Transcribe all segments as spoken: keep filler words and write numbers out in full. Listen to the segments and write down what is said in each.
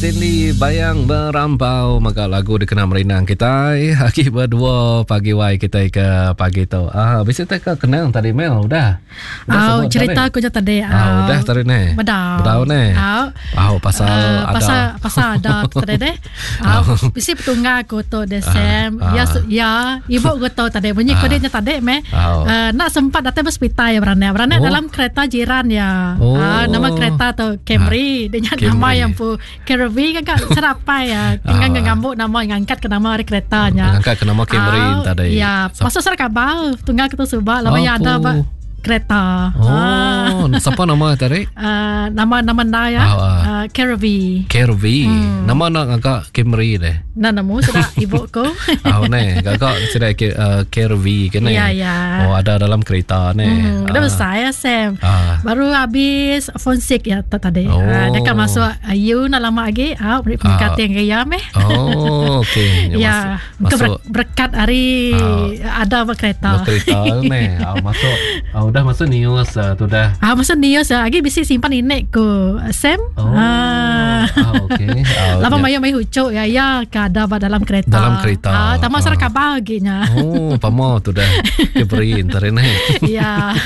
Cindy Bayang Merampau mega lagu dikena merindang kitai agi berdua pagi wai kitai ke pagi tu. Ah bisi tak ke kenang tadi Mel udah. Udah oh, cerita aku je tadi. Ah udah tadi ne. Bedau. Bedau ne. Oh, oh pasal uh, ada. Pasal pasal ada tadi deh. Oh, bisi petunggal aku tu deh Sam. Ah. Ya ya ibu aku tu tadi bunyi Ah. kode nya tadi meh. Oh. Uh, nak sempat datang hospital ya beranak. Beranak Oh. dalam kereta jiran ya. Oh. Ah, nama kereta tu Camry. Dia nya Camry. nama yang pu Camry kan kak serapai ya. Tinggal Ah. ngambuk nama ngangkat ke nama hari keretanya. Ngangkat ke nama Camry Ah, tadi. Ya, Sap- pasal serak kabar tunggal kita subak lama ya ada Apu. ba kereta. Ah. Oh, siapa nama tadi? Uh, nama nama nda ya. Ah, ah. Uh, Caravi. Kervi. Hmm. Nama nak agak Camry deh. Nah, nemu sudah ibu ku. Ah, ne, gagak sudah ke uh, Kervi ke ne. Ya, ya. Oh, ada dalam kereta ne. Hmm, dah Ah. besar ya Sam. Ah. Baru habis phone six ya tadi. Oh. Ah, dia kan masuk uh, you nak lama lagi. Ah, beri Ah. pendekatan ke ya meh. Oh, okey. Ya, Masuk, masuk berkat hari Ah. ada berkereta. kereta ne. Ah, masuk. Ah, udah masuk news ah, tu dah. Ah, masuk news ah. Lagi bisi simpan inek ku Sam. Oh. Ah. Ah, okey. Ah, Lama ya. mayu mayu hucuk ya ya ke ada ba dalam kereta. Dalam kereta. Ah, tamak Ah. serak kabar lagi nya. Oh, pamo tu dah. Keberi entar ne. Ya.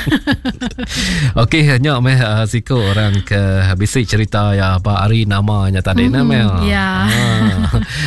Okey, hanya meh uh, siku orang ke bisi cerita ya apa hari namanya tadi mm-hmm, Mel. ya. Ah.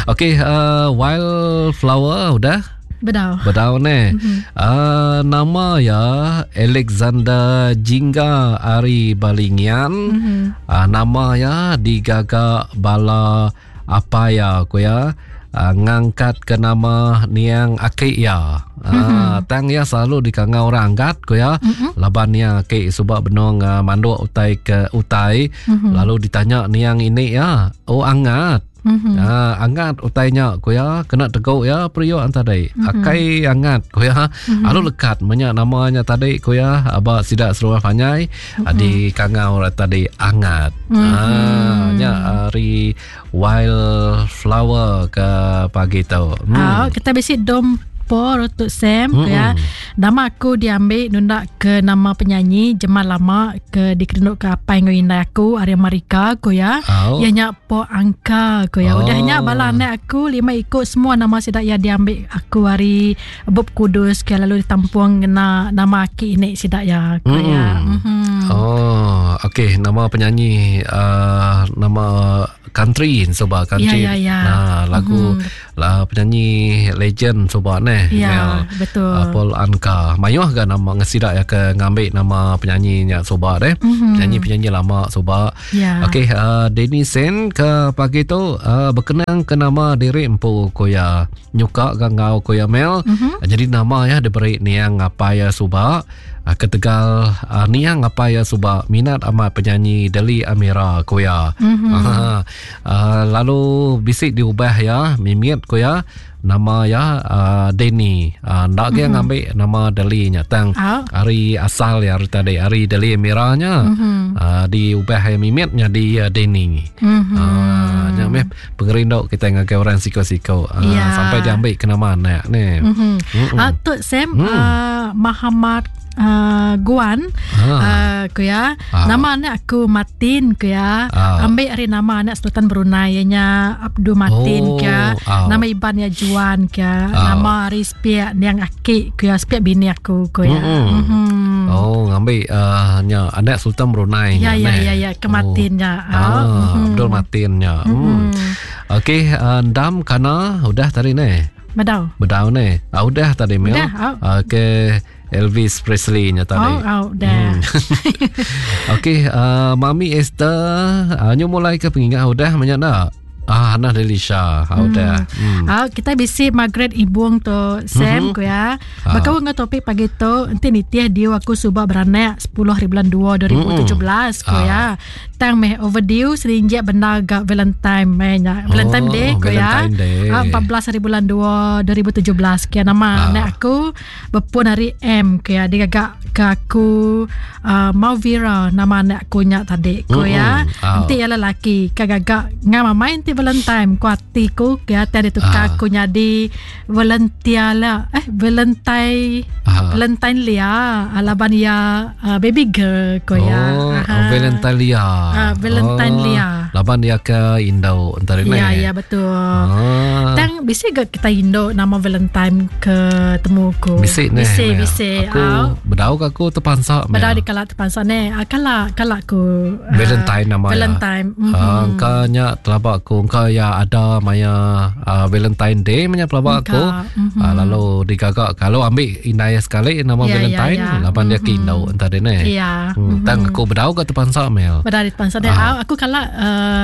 Okey, uh, wildflower udah Bedau. bedau ne. Mm-hmm. Uh, nama ya Alexander Jingga Ari Balingian. Mm-hmm. Uh, nama ya digaga bala apa ya ku ya. Uh, ngangkat ke nama niang aki ya. Uh, mm-hmm. Tang ya selalu dikangau orang angkat ku ya. Mm-hmm. Laban ya aki subak benong uh, manduk utai ke utai. Mm-hmm. Lalu ditanya niang ini ya, oh angat. Mhm. Ah, angat utainya ku ya kena teguk ya periuk tadi. Mm-hmm. Akai angat ku ya. Mm-hmm. Lalu lekat menyak namanya tadi ku ya aba sidak seruah panyai mm-hmm. di kangau tadi angat. Mm-hmm. Ah, nya hari wildflower ke pagi tu. Hmm. Ah, kita bisi dom por untuk Sam Mm-mm. ya. Nama aku diambil nundak ke nama penyanyi Jemal lama ke dikerinduk ke apa yang indai aku Arya Marika ku ya. Oh. Ya nya po angka ku ya. Oh. Udah nya bala anak aku lima ikut semua nama sidak ya diambil aku hari Bob Kudus ke lalu ditampung kena nama aki ini sidak ya ku ya. Mm. Mhm. Oh, okey, nama penyanyi uh, nama country soba country. Ya, ya, ya. Nah, lagu mm-hmm. lah penyanyi legend soba neh. Ya, Mel. betul. Uh, Paul Anka. Mayuh ga nama ngesidak ya ke ngambil nama penyanyi nya soba deh. Mhm. Penyanyi-penyanyi lama soba. Ya. Okey, uh, Denny Sen ke pagi tu uh, berkenang ke nama diri empu koya nyuka gangau koya Mel. Mhm. Uh, jadi nama ya diberi niang apa ya suba. Uh, ketegal uh, niang apa ya suba minat amat penyanyi Deli Amira koya. Mhm. Uh, uh, lalu bisik diubah ya mimit koya nama ya uh, Denny. Uh, ndak mm-hmm. ngambil nama Deli nya tang Ah. hari asal ya hari tadi hari Deli Amiranya Mhm. uh, diubah ya mimitnya di uh, Denny. Mhm. Ah, nya meh pengerindu kita ngagai orang siko-siko. Ah, Ya. sampai diambil ke nama anak ni. Mhm. Mm-mm. Ah, tu Sam Mm. ah, Muhammad uh, Guan Ah. uh, ku ya. Ah. Nama anak aku Martin ku ya. Ah. Ambil hari nama anak Sultan Brunei ianya Abdul Martin Oh, ku ya. ah. Nama Iban ya Juan ku ya. Ah. Nama hari sepiak niang aki ku ya, sepiak bini aku ku ya. Mm-mm. Mhm. Oh, ngambil uh, nya anak Sultan Brunei. Ya nya, ya neh. ya ya ke Martin ya. Oh. Ah, Mhm. Abdul Martin nya. Hmm. Okey, uh, Dam kana udah tadi ne. Bedau. Bedau ne. Ah, udah tadi Mel. Udah, ah. Ah, ke Elvis Presley nya tadi. Oh, oh, dah. Hmm. Okey, uh, Mami Esther, uh, nyu mulai ke pengingat udah banyak dak? Ah, Hana Delisha, ah, udah. Hmm. Ah, kita bisi Margaret Ibung tu Sam Mhm. ku ya. Ah. Baka dengan topik pagi tu enti nitih dia aku subak beranak sepuluh hari bulan dua dua ribu tujuh belas ku Ah. ya. Tang meh overdue serinjak benar gak Valentine meh nya. Valentine Oh, Day ku ya. Valentine Day. Ah, empat belas hari bulan dua dua ribu tujuh belas kia nama Ah. anak aku berpun hari M ku ya. Dia gagak ke aku uh, Mauvira nama anak aku nya tadi ku ya. Mm-mm. Ah. Enti ia lelaki kagak ngam main ti Valentine ku ati ku ya tadi tukar Ah. aku nyadi volunteer lah eh Valentine Ah. Valentine Lia alaban ya uh, baby girl ku ya. Oh, Aha. Valentine Lia. Ah, Valentine oh, Lia. Laban dia ke Indo entara ni. Ya, ya betul. Ah. Tang bisi gak kita Indo nama Valentine ke temu ku. Bisi ni. Bisi, bisi. Aku oh. bedau ke aku terpansa. Bedau di kala terpansa ni. Kala kala aku Valentine nama. Valentine. Mm-hmm. Uh, engkau nya telabak aku engkau ya ada maya uh, Valentine Day maya pelabak aku. Mm-hmm. Uh, lalu digagak kalau ambil indai sekali nama ya, Valentine ya, ya. Laban mm-hmm. dia ke Indo entara ni. Ya. Hmm, mm-hmm. Tang aku bedau ke terpansa mel. Bedau di terpansa ni. Uh. Aku kala uh,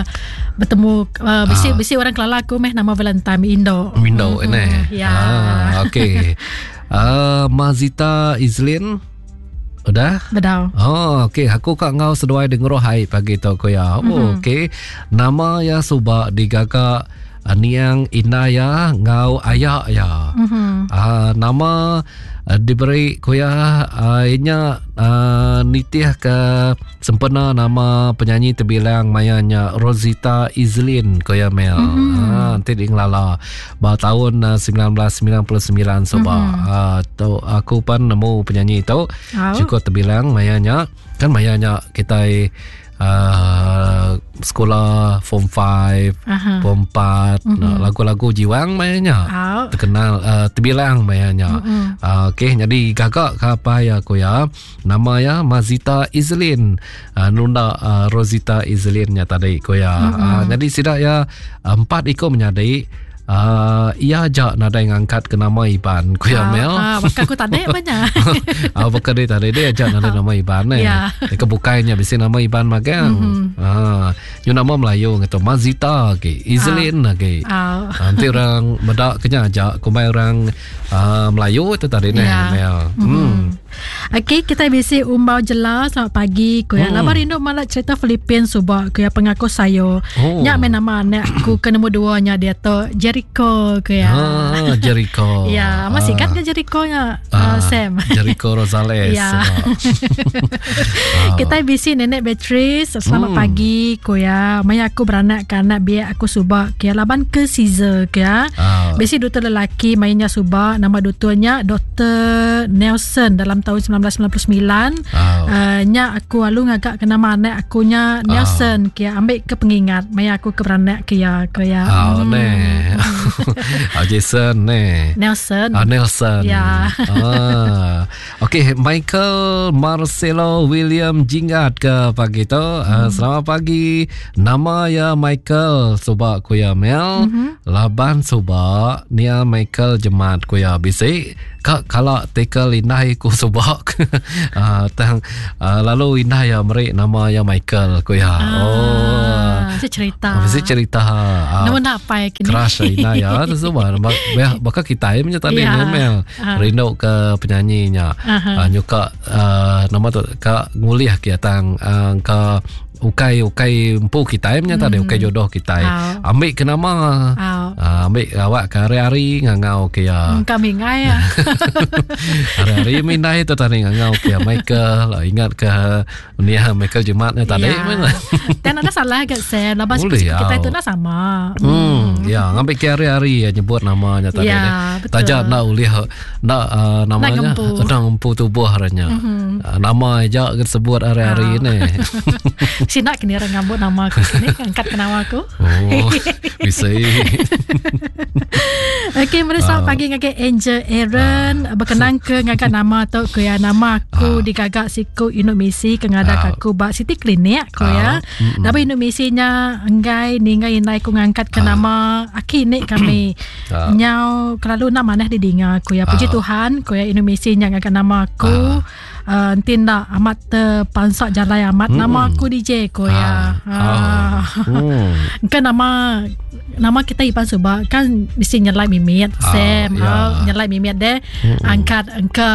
bertemu uh, bisi uh. bisi orang kelala aku meh nama Valentine Indo. Indo mm-hmm. ini. Ya. Ah, okey. Uh, Mazita Izlin udah? Bedau. Oh, okey. Aku kak ngau seduai dengeroh hai pagi tu ko ya. Oh, mm-hmm. okey. Nama ya subak digagak niang Inaya ngau ayak ya. Mm-hmm. Uh, nama uh, diberi kuya uh, inya uh, nitih ke sempena nama penyanyi terbilang mayanya Rosita Izlin kuya Mel. Mm-hmm. Uh, nanti di ngelala ba tahun uh, sembilan belas sembilan puluh sembilan soba. Mm-hmm. Uh, tu aku pan nemu penyanyi tu oh. Cukup terbilang mayanya kan mayanya kita Uh, sekolah form five, uh-huh. form empat, mm-hmm. lagu-lagu jiwang mainnya oh. terkenal uh, terbilang mainnya. Mm-hmm. Uh, okey, jadi gagak ke apa ya aku ya. Nama ya Mazita Izlin, uh, nunda uh, Rosita Izlinnya tadi ku ya. Mm-hmm. Uh, jadi sidak ya empat ikut menyadi. Uh, ia ajak nadai ngangkat ke nama Iban ku ya Mel. Ah, bakal aku tadi banyak. Ah, bakal dia tadi dia ajak nadai nama Iban eh. Yeah. Dekat bukainya bisi nama Iban magang. Mm-hmm. Ah, you nama Melayu ngatu Mazita lagi, Izlin ah. lagi. Ah. Nanti orang medak kena ajak kumai orang uh, Melayu tu tadi ni yeah. Mel. Mm-hmm. Hmm. Okey, kita bisi umbau jela selamat pagi ku ya. Hmm. Lama rindu malak cerita Filipin subak ku ya pengaku sayo. Oh. Nyak main nama anak ku ke nombor dua nya dia tu Jericho ku ya. Ah, Jericho. Ya, masih ah. kan ke Jericho nya ah, uh, Sam. Jericho Rosales. Ya. Ah. Kita bisi nenek Beatrice, selamat hmm. pagi ku ya. Maya aku beranak ke anak biak aku subak ku ya laban ke Caesar ku ya. Ah. Bisi duta lelaki mainnya subak nama dutanya Doktor Nelson dalam tahun sembilan belas sembilan puluh sembilan. Oh. Uh, nya aku alu ngagak ke nama anak akunya Nelson oh. kia ambil ke pengingat maya aku ke beranak ke ya ke ya. Oh hmm. ne. Ah, Jason ne. Nelson. Ah, Nelson. Ya. Ah. Okey, Michael Marcelo William Jinggat ke pagi tu. Hmm. Uh, selamat pagi. Nama ya Michael subak kuya Mel. Mm-hmm. Laban subak nia Michael Jemat kuya bisi. Kak kalau tekel inai ku subak. uh, tang uh, lalu inai ya merik nama ya Michael ku ya. Ah, oh. Mesti cerita. Mesti cerita. Uh, nama nak apa kini? Crush inai ya tu semua. Bakal kita punya tadi yeah. Mel. Uh. Rindu ke penyanyinya. Uh-huh. Uh, nyuka uh, nama tu kak ngulih ke tang uh, ke ukai ukai empu kita punya tadi mm. ukai jodoh kita. Oh. Ambil ke nama. Oh. Uh, ambil awak ke hari-hari ngangau ke ya. Hmm, kami ngai ya. Hari-hari mindai tu tadi ngangau ke Michael lah, ingat ke ni Michael Jumatnya tadi ya. mana. Dan ada salah ke saya lepas Boleh, kita ya. itu nak sama. Hmm, ya ngambil ke hari-hari ya nyebut namanya tadi. Ya, betul. Tajak nak ulih nak uh, namanya nak ngempu tubuh haranya. Mm-hmm. Uh, nama aja ke sebut hari-hari Ah. ni. Sinak kini orang ngambut nama aku sini angkat ke nama aku. Oh, bisa. Okey, mari selamat Ah. pagi ngagai Angel Aaron Ah. berkenang ke ngagai nama tu ke ya nama aku Ah. digagak siku Indomisi ke ngadak Ah. aku ba City Klinik ko ya. Ah. Mm-mm. Tapi Indomisinya enggai ninggai inai ku ngangkat ke Ah. nama aki ni kami. Ah. Nyau kelalu nak manah didinga ku ya. Puji Ah. Tuhan ku ya Indomisinya ngangkat nama aku. Ah. Uh, tindak amat terpansak jalai amat Mm. nama aku D J ko ya. Ah. Ah. Hmm. Kan nama nama kita Ipan Subak kan mesti nyelai mimit Ah, Sam ya. ah, nyelai mimit deh angkat ke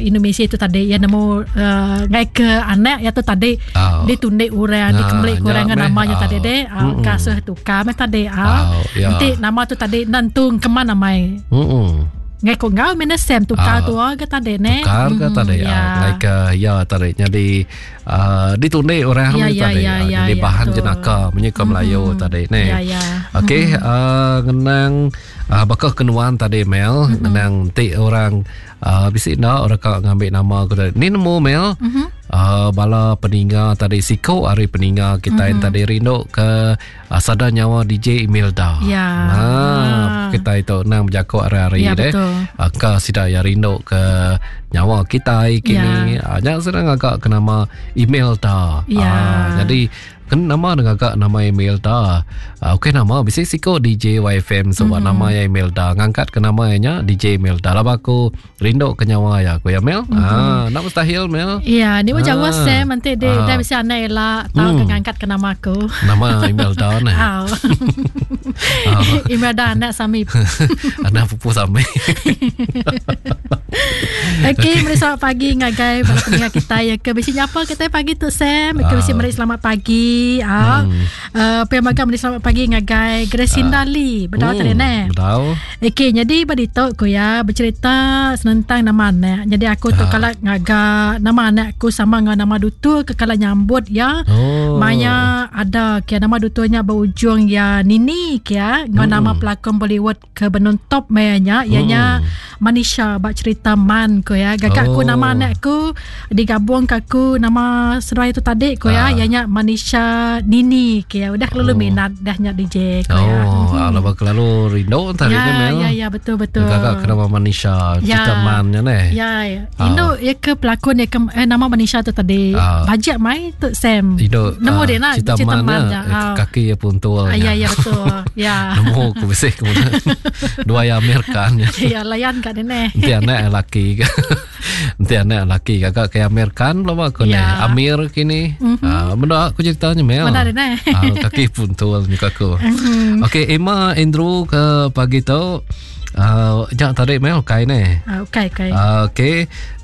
Indonesia itu tadi ya nemu uh, ngai ke anak ya tu tadi Ah. ditundik orang Ah, dikemblik orang nyak meh. namanya Ah. tadi deh ah, Mm-mm. kasuh tukar meh tadi ah. Ah, ya. Nanti nama tu tadi nantung ke mana mai Hmm. ngai ko ngau mena Sam tukar Ah. tu ah, ke tadi ne Tukar ke Mm, tadi ya. ah, like uh, ya tadi jadi uh, ditundik orang Ya, ni ya, tadi ya, ah, ya, jadi ya, bahan betul. jenaka menyuka Melayu tadi ni. Ya, ya. Okey, uh, ngenang uh, bakal kenuan tadi Mel, Mm-hmm. ngenang ti orang uh, bisi nak orang kak ngambil nama aku tadi. Ni nemu Mel. Mm-hmm. uh, bala peninga tadi siko hari peninga kita mm-hmm. tadi rindu ke uh, sada nyawa D J Imelda. Ya. Ha, kita itu nang berjakok hari-hari ya, deh. Uh, ke sida ya rindu ke nyawa kita kini. Ya. Uh, nya sedang agak ke nama Imelda. Ya. Uh, jadi kan nama dengan agak nama Imelda. Uh, okey nama bisi siko D J Y F M sebab mm-hmm. nama ya Imelda. Ngangkat ke nama nya D J Imelda. Laba aku rindu ke nyawa ya aku ya Mel. Mm-hmm. Ah, nak mustahil Mel. Ya, ni macam ah. Sam nanti dia ah. dah bisi anak elak tahu mm. ke ngangkat ke nama aku. Nama Imelda ni. Ah. Imelda anak Sami. Anak pupu Sami. Okey, meri selamat pagi ngagai bala pendengar kita ya ke bisi nyapa kita pagi tu Sam. Ke bisi meri selamat pagi. Ah. Hmm. Uh, pemagang meri selamat pagi ngagai Gracinda Ah. Lee. Bedau Hmm, tadi ne. Bedau. Okey, jadi bagi tu ku ya bercerita tentang nama anak. Jadi aku tu Ah. kalau ngaga nama anak aku sama dengan nama dutu ke kalau nyambut ya. Oh. Maya ada kia nama dutunya berujung ya Nini kia dengan Hmm. nama pelakon Bollywood ke benun top mayanya ianya Hmm. Manisha bak cerita Man ko ya. Gagak aku Oh. nama anak aku digabung ke aku nama serai tu tadi ko ya Ah. ianya Manisha Nini kia. Udah kelalu Oh. minat dah nyak D J ko ya. Oh, alamak kelalu rindu tadi Ya, ni Mel. ya, ya, betul, betul. Gagak ke nama Manisha, Ya. cerita Man nya ni. Ya, ya. Ah. Indo ya ke pelakon ya ke eh, nama Manisha tu tadi. Ah. Bajet mai tu Sam. Indo Nemu ah, dia nak cerita cerita Man, Man nya, ya. eh, Ah. kaki ya puntul. Ah, ya, ya betul. Ya. Nemu aku bersih kemudian. Dua yang Amir Khan nya. Ya, layan kat dia ni. Nanti anak lelaki ke. Nanti anak lelaki kakak ke Amir Khan belum aku ni. Ya. Amir kini. Mhm. Ah, benda aku ceritanya Mel. Mana dia ni? Ah, kaki puntul muka aku. Mhm. Okey, Emma Andrew ke pagi tu. Uh, jangan tarik Mel kai ni. Ah, okey, okey. Uh, Okey,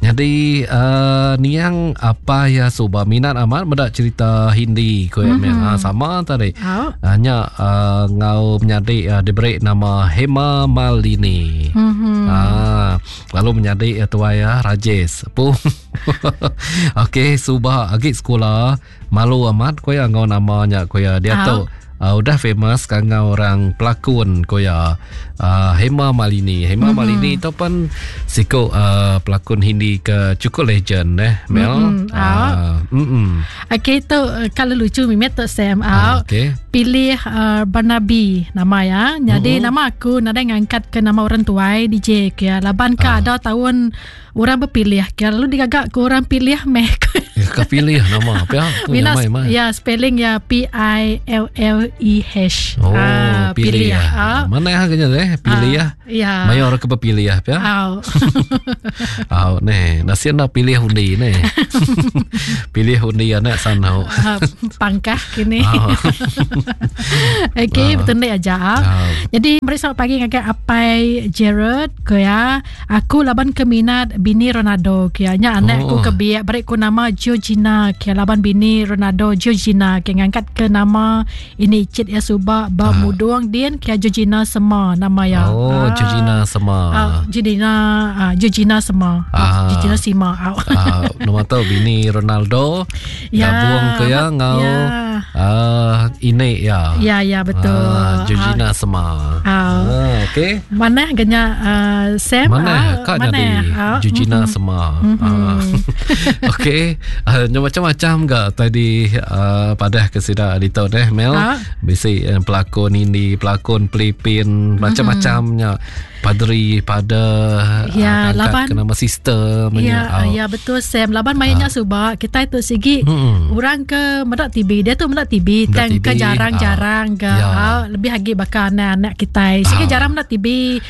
jadi uh, niang apa ya suba minat amat mendak cerita Hindi ko mm-hmm. Mel. Ah, sama tadi. Ah. Hanya uh, ngau menyadik uh, diberi nama Hema Malini. Mhm. Ah, lalu menyadik uh, tuai ya Rajesh. Pun. Okey, suba agi sekolah malu amat ko ya ngau namanya ko ya dia Ah. tu Uh, udah famous kan orang pelakon ko ya uh, Hema Malini. Hema mm-hmm. Malini tu pun siko uh, pelakon Hindi ke cukup legend eh Mel. Mm-mm. Uh, mm-mm. Okey tu eh, kalau lucu mimet tu Sam. Ah, Ah, okey. Pilih uh, Barnaby nama ya. Jadi Mm-mm. nama aku nadai ngangkat ke nama orang tuai D J ke ya. Laban ke Ah. ada tahun orang berpilih ke lalu digagak ke orang pilih meh. Ya, kau pilih nama apa ya? Tu Mina nama nama. ya spelling ya P I L L E H. Oh, Ah, pilih ya. Ah, Mana yang kena eh? Pilih ya. Ya. Maya orang ke berpilih ya, ya. Ah. Ah, ni, nasi nak pilih undi ni. Pilih undi anak sana. Ah, pangkah kini. Ah. Okey, Ah. betul ni aja. Ah. Jadi meri selamat pagi ngagai Apai Gerard ke ya. Aku laban ke minat bini Ronaldo ke ya. Nya anak aku Oh. ke biak beri ku nama Georgina ke laban bini Ronaldo Georgina ke ngangkat ke nama ini cit ya suba ba Ah. mudung din ke Georgina Sema nama ya. Oh, Ah. Georgina Sema. Ah, Georgina ah, Georgina Sema. Ah. Ah. Georgina Sima. Ah. Ah, nama tu bini Ronaldo Ya, gabung ke ya ngau ya. ah ini ya. Ya, ya betul. Ah, Georgina Sema. Ah. Ah, okey. Mana ganya uh, Sam? Mana Ah, kak mana? jadi Ah, Georgina mm-mm. Sema. Mhm. Ah. Okey, uh, macam-macam gak tadi uh, padah ke sida di tu deh Mel. Ah. Bisi uh, pelakon ini, pelakon Filipin, macam-macamnya. Padri pada Ya, uh, laban. ke nama sister Ya, Ah. ya betul Sam. Laban mainnya subak kita itu sigi Mm-mm. orang ke medak T B dia tu medak T B Medak tang T B, ke jarang-jarang ke Ah. Ya. ah, lebih lagi bakal anak-anak kita. Sigi Ah. jarang medak T B.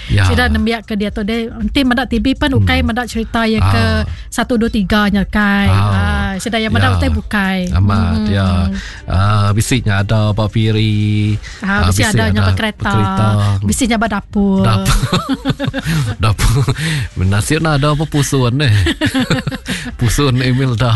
Ya. Sida nembiak ke dia tu dia nanti medak T B pun ukai medak cerita ya ke Ah. satu dua tiga nya kai. Ah. Ah, sida yang medak Ya. utai bukai. Amat Mm. ya. Ah bisiknya ada Pak Piri. Ah, bisi bisik ada nya kereta. Kereta. Bisi nya dapur. Dapur. Dapur. Nasib nak ada apa pusun ni. Pusun Emil dah.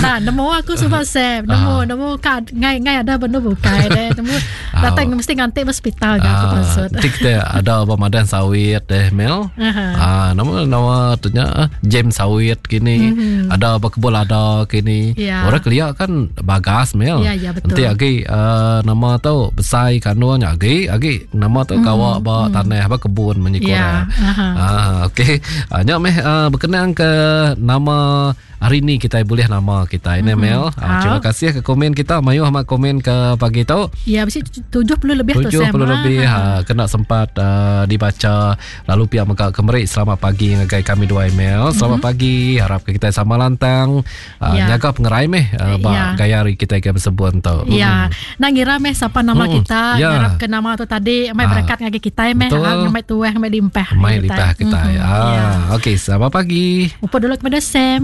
Nah, nemu aku suba Sam, nemu uh. nemu ka ngai ngai ada benda bukai deh. Nemu datang uh. mesti nganti hospital ga aku maksud. Tik kita ada ba madan sawit deh Mel. Uh-huh. Ah, nama nama tu nya James sawit kini. Uh-huh. Ada ba kebun lada kini. Yeah. Orang kelia kan bagas Mel. Ya, ya, betul. Nanti agi uh, nama tu besai kandung agi agi nama tu gawa mm-hmm. ba mm. tanah ba kebun menyikora. Yeah. Uh-huh. Ah, okey. Ah, nya meh uh, berkenaan ke nama hari ni kita boleh nama kita ini mm-hmm. Mel. Ah, terima kasih ke komen kita mayuh amat komen ke pagi tu. Ya, mesti tujuh puluh lebih tu Sam. tujuh puluh lebih ha, kena sempat uh, dibaca lalu pihak mega kemerik selamat pagi ngagai kami dua email. Selamat mm-hmm. pagi, harap kita sama lantang uh, ya. Jaga pengerai meh uh, ba ya. Gaya hari kita ke bersebun tu. Ya. Mm. Nak ngira meh siapa nama mm. kita, ya. Ngarap ke nama tu tadi mai berkat ngagai kita meh, ha, mai tuah mai limpah. Mai limpah kita. Mm-hmm. Ah, ya. Okey, selamat pagi. Upa dulu kepada Sam.